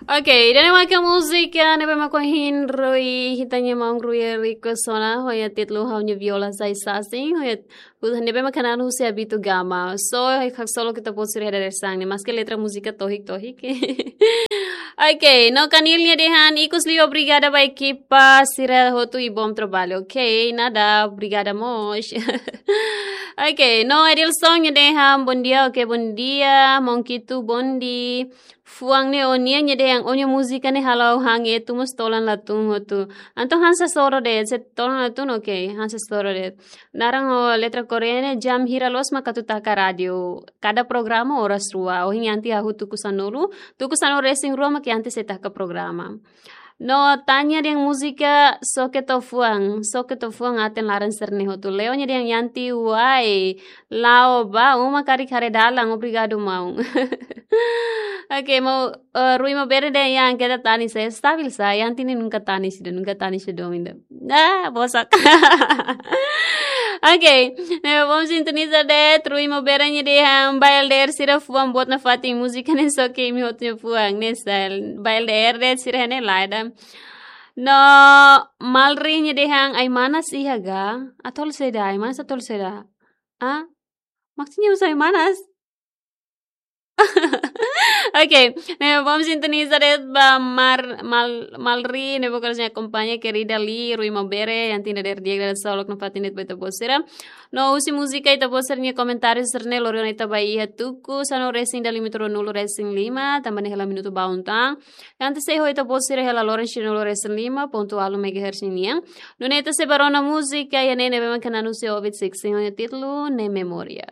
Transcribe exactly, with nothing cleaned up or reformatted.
Oke, ida-ne'e maka múzika ne'ebé mak ohin Rui, ita-nia maun Rui Eriko sona, ho nia títulu Ha'u-nia Viola Sai Sasin, ho nia, ne'ebé mak hanesan husi Abito Gama. So, haksolok ita-boot sira iha dadeer-saan ne'e, maske letra múzika tohik-tohik. Oke, no Kanil nia dehan, ikus liu obrigada ba ekipa sira hotu i bom trabalho. Oke, nada, obrigada mós. Oke, no Edilson nia dehan, bom dia, oke, bom dia, Monkitu, bom dia. Fuan ne'e ó-nian, nia dehan ó-nia múzika ne'e halo han etu mós tolan la tun hotu. Entaun hanesan soro de'it, se tolan la tun, oke, hanesan soro de'it. Naran ho letra Korea ne'e jam hira loos mak atu taka rádiu. Kada programa oras rua. Ohin Yanti hahú tuku sanulu, tuku sanulu-resin-rua mak Yanti sei taka programa. No Tanya dehan múzika Soke To'o Fuan, Soke To'o Fuan aten laran sira-ne'e hotu. Leo nia dehan Yanti wai, la'o ba uma karik haree dalan, obrigadu maun. Oke, maun, eh, Rui Maubere dehan Yan, keta tanis, eh, stabil sá, Yanti ne'e nunka tanis ida, nunka tanis ida, ida. Ah, bosak. Oke, ne'e bom sintoniza de'it, Rui Maubere nia dehan, ba L D R sira fuan boot nafatin múzika ne'e Soke Imi Hotu nia fuan, ne'e style. Ba L D R de'it sira ne'e lae ida. No Malri nia dehan, ai-manas iha ga, atu halo saida, ai-manas atu halo saida. Ah? Maksudnya husu ai-manas? Oke, ne'e bom sintoniza de'it ba Mar, Mal, Malri, ne'ebé mak ohin akompaña, kerida Li, Rui Maubere, Yanti dadeer di'ak, dadeer-saan loos nafatin de'it ba ita-boot sira. No husi múzika ita-boot sira-nia komentáriu sira-ne'e lori ona ita ba iha tuku sanulu-resin-ida, limite ruanulu-resin-lima, tanba ne'e hela minutu ba untang. Yanti sei ho ita-boot sira hela loron sanulu-resin-lima pontu ualu megahertz nian. Nune'e ita sei ba rona múzika ida-ne'e ne'ebé mak hanesan husi Ovid Sixteen, ho nia títulu Ne'e Memória.